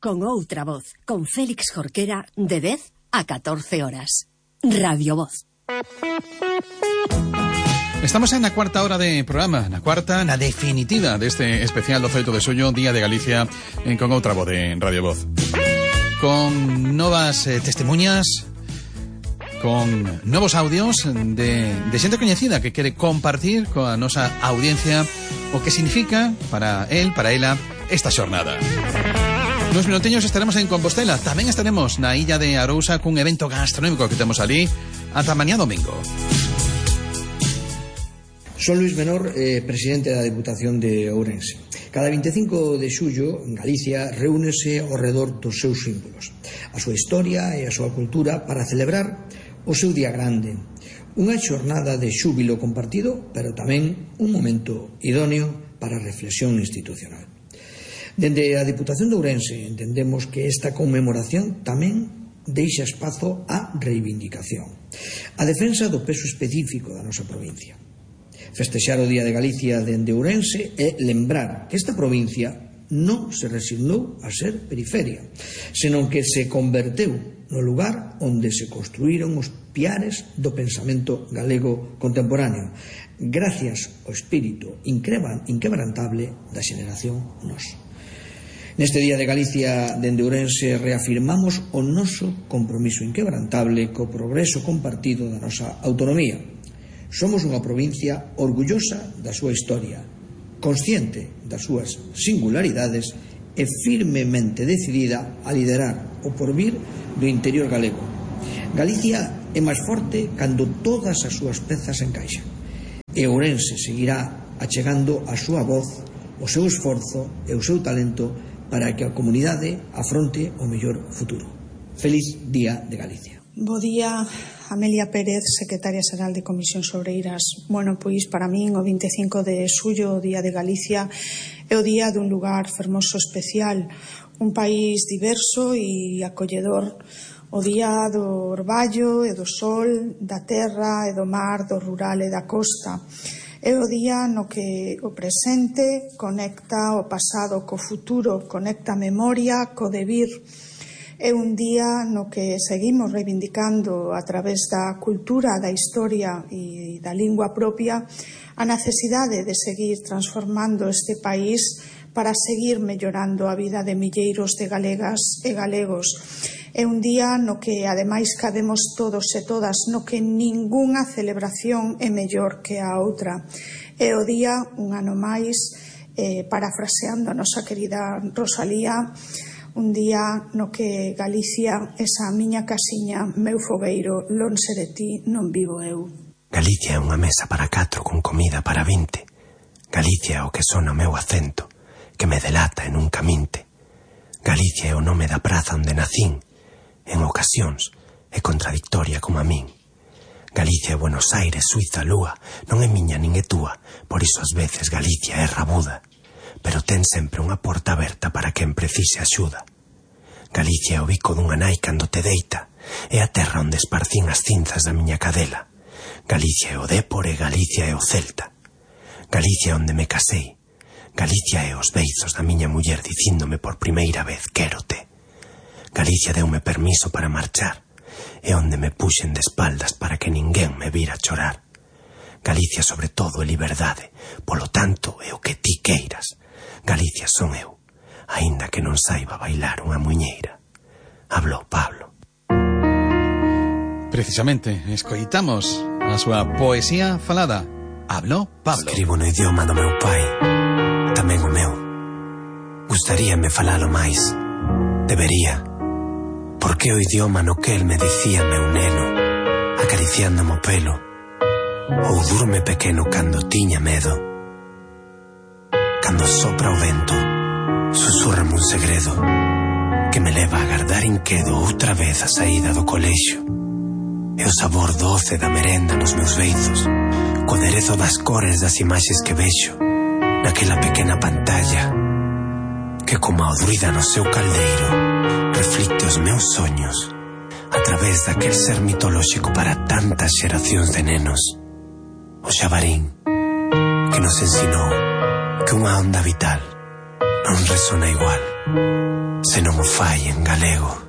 con outra voz, con Félix Jorquera, de 10 a 14 horas. Radio Voz. Estamos na cuarta hora de programa, na cuarta, na definitiva deste especial do 18 de xullo, Día de Galicia, con outra voz de Radio Voz. Con novas testemunhas, con novos audios de xente coñecida que quere compartir coa nosa audiencia o que significa para él, para ela, esta xornada. Nos minuteños estaremos en Compostela. Tamén estaremos na illa de Arousa cun evento gastronómico que temos ali ata mañá domingo. Son Luis Menor, presidente da Deputación de Ourense. Cada 25 de xullo, en Galicia, reúnese ao redor dos seus símbolos, a súa historia e a súa cultura para celebrar o seu día grande. Unha xornada de xúbilo compartido, pero tamén un momento idóneo para a reflexión institucional. Dende a Deputación de Ourense entendemos que esta conmemoración tamén deixa espazo á reivindicación, a defensa do peso específico da nosa provincia. Festexar o Día de Galicia dende Ourense é lembrar que esta provincia non se resignou a ser periferia, senón que se converteu no lugar onde se construíron os piares do pensamento galego contemporáneo, gracias ao espírito inquebrantable da xeración Nós. Neste Día de Galicia dende Ourense reafirmamos o noso compromiso inquebrantable co progreso compartido da nosa autonomía. Somos unha provincia orgullosa da súa historia, consciente das súas singularidades e firmemente decidida a liderar o porvir do interior galego. Galicia é máis forte cando todas as súas pezas encaixan. E Ourense seguirá achegando a súa voz, o seu esforzo e o seu talento para que a comunidade afronte o mellor futuro. Feliz Día de Galicia. Bo día, Amelia Pérez, secretaria xeral de Comisións Obreiras. Bueno, pois para min o 25 de xullo, o Día de Galicia, é o día dun lugar fermoso especial, un país diverso e acolledor, o día do orballo e do sol, da terra e do mar, do rural e da costa. É o día no que o presente conecta o pasado co futuro, conecta a memoria co devir. É un día no que seguimos reivindicando a través da cultura, da historia e da lingua propia a necesidade de seguir transformando este país para seguir mellorando a vida de milleiros de galegas e galegos. É un día no que ademais cabemos todos e todas, no que ningunha celebración é mellor que a outra. É o día, un ano máis, parafraseando a nosa querida Rosalía, un día no que Galicia, esa miña casiña, meu fogueiro, lonxe de ti non vivo eu. Galicia é unha mesa para 4 con comida para 20. Galicia é o que sona o meu acento, que me delata e nunca minte. Galicia é o nome da praza onde nacín, en ocasións é contradictoria como a min. Galicia é Buenos Aires, Suiza, Lúa, non é miña nin é túa, por iso ás veces Galicia é rabuda, pero ten sempre unha porta aberta para quen precise axuda. Galicia é o bico dunha nai cando te deita, é a terra onde esparcín as cinzas da miña cadela. Galicia é o Dépor e Galicia é o Celta. Galicia é onde me casei. Galicia é os beizos da miña muller dicíndome por primeira vez quérote. Galicia deume permiso para marchar, é onde me puxen de espaldas para que ninguén me vira chorar. Galicia sobre todo é liberdade, polo tanto é o que ti queiras. Galicia son eu, aínda que non saiba bailar unha muiñeira. Hablou Pablo. Precisamente, escoitamos a súa poesía falada. Hablou Pablo. Escribo no idioma do meu pai, tamén o meu. Gustaríame falalo máis, debería. Porque o idioma no que el me dicía meu neno, acariciándome o pelo, ou durme pequeno cando tiña medo. Cando sopra o vento, susúrrame un segredo que me leva a agardar inquedo outra vez a saída do colexio. E o sabor doce da merenda nos meus beizos, co aderezo das cores das imaxes que vexo naquela pequena pantalla que como a druida no seu caldeiro reflicte os meus soños a través daquel ser mitolóxico para tantas xeracións de nenos, o xabarín, que nos ensinou que unha onda vital non resona igual se non o fai en galego.